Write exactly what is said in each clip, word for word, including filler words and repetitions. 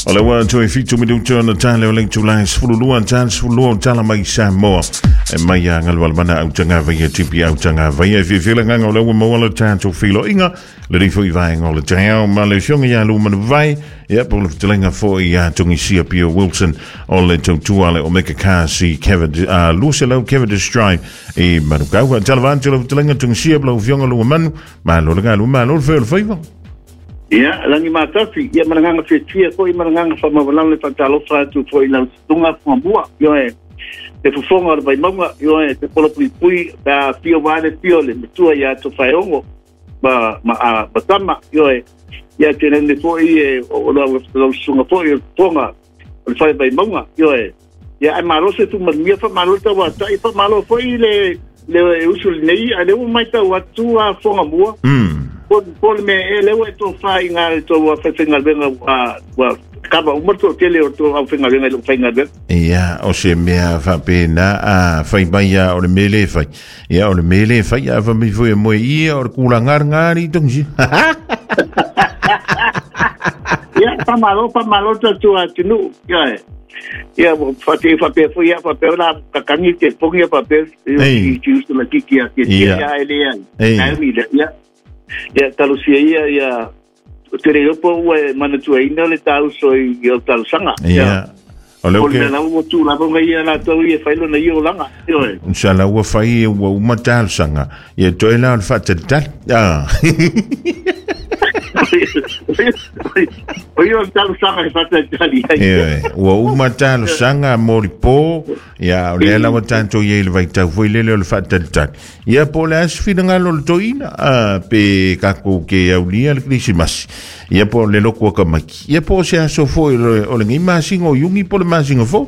O le ua toe fitu minuta ona tale o le itulā sefululua tale sefululua o tala mai Samoa. E mai a galualemana autagavaia tipi autagavaia. E fiafia le agaga o le ua maua le tatou filoiga. Le foi vaega o le taeao ma le afioga ia Luamanuvai. Ia po o le fetalaiga foi ia Togisia Pio Wilson o le tautua le Omega Cars i Cavendish, uh, luaselau Cavendish Drive i Manukau. Faatalofa atu lau fetalaiga Togisia po lau afioga Luamanu. Malo le galue, malo le fai o le faiva. Ia, langi matafi, ia malanganga fiatia foi, malanganga whamawalalo le whatalofa atu foi lau tunga whamua, ioe, te fufonga o le vaimaunga, ioe, te polo pui pui, pa fio wale fio le matua ia to whaeongo, ma, ma, a, matama, ioe, ia te nene foi e, o lau lau sunga foi, o tonga, o le whai vaimaunga, ioe, ia ai malo se tu manuia, wha malo tawa tai, wha malo foi le, le usu le nei, a le ua mai tau atu a fonga mua. Mm. Po le mea e lea ua e tofā i ngā le tō whaiwhaingaluega ua kava uma tō tele o tō au whaingaluega i lou faigaluega. Ia, o se mea faapena a fai mai a o le mea lē fai. Ia, o le mea lē fai a fai mai foi e moe ia o le kulagalagari togisi. Ia, whamalo, whamalo tatu atunuu. Ia, ia, whate whapea foi ia, whapea la kakangi te pongi ia whapea i te usu la kiki a te tia e lea. Ia, ia talusia ia ia te reo po ua e manatuaina le tauso i o talusanga. Ia. O le o le lau ua tū lava ngai ia latou ia whailona ia o langa. Sa lau ua fai ua uma talusanga. Ia toe la o le whaatalitali. Ah. O ia o talusanga e whaatalitali. Ia, ua uma talusanga moripo. Ia, o lea lawa tātou ia i le vaitau foi lele o le whaatalitali. Ia, po le asi finagalo le toina. Ah, pe kako ke aulia le Krisimasi. Ia, po le loko akamaki. Ia, po se aso foi o le ngai masinga o iugi po le masinga fo.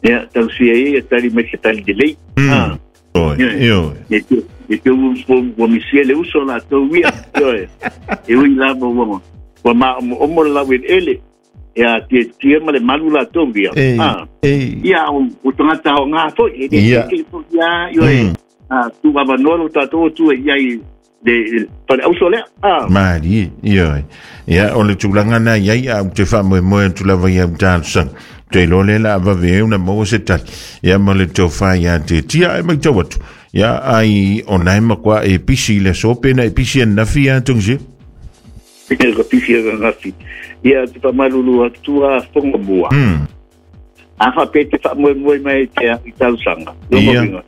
Ia, talusia ia tali mai se tali de lei. Ah. Oi, oi. E te ua misia le uso la tau ia. E ui lava ua ua ma omo le lau ele. Ia te tia ma le malu la tau ia. Ia o tangata o ngā foi. E te te ia ioe. Tu avanoa lo tātou tu e ia i le pale auso lea. Mari, ioe. Ia o le tulaga na iai a te faamoemoe atu lava ia talosaga. Te iloa lea la avave una maua se tali. Ia ma le tofā ia te tia e matau atu. Ia ai o nae makuā e pisi i le aso pe na e pisi anafi ia Togisia. Ka pisi anafi. Ia te whamalulu atu a whonga mua. A whape te whaamoemoe mai te i talosaga. Ia.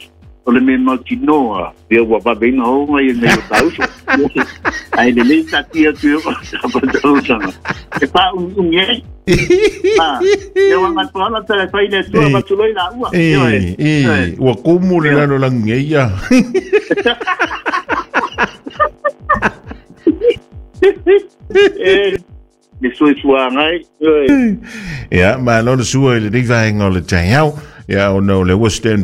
O le mea mautinoa, ia ua vaveina honga ia nei o tauso. Ai le lei tati atu ia o talosaga. E pā ungi ai. Ia ua ngatoala tala whai le atua matuloi la ua. E, e, ua kumu le lalo langi e ia. E, le sui sua ngai. Ia, malo le sua i le nei vaega o le taeao. Ia, ona o le ua stand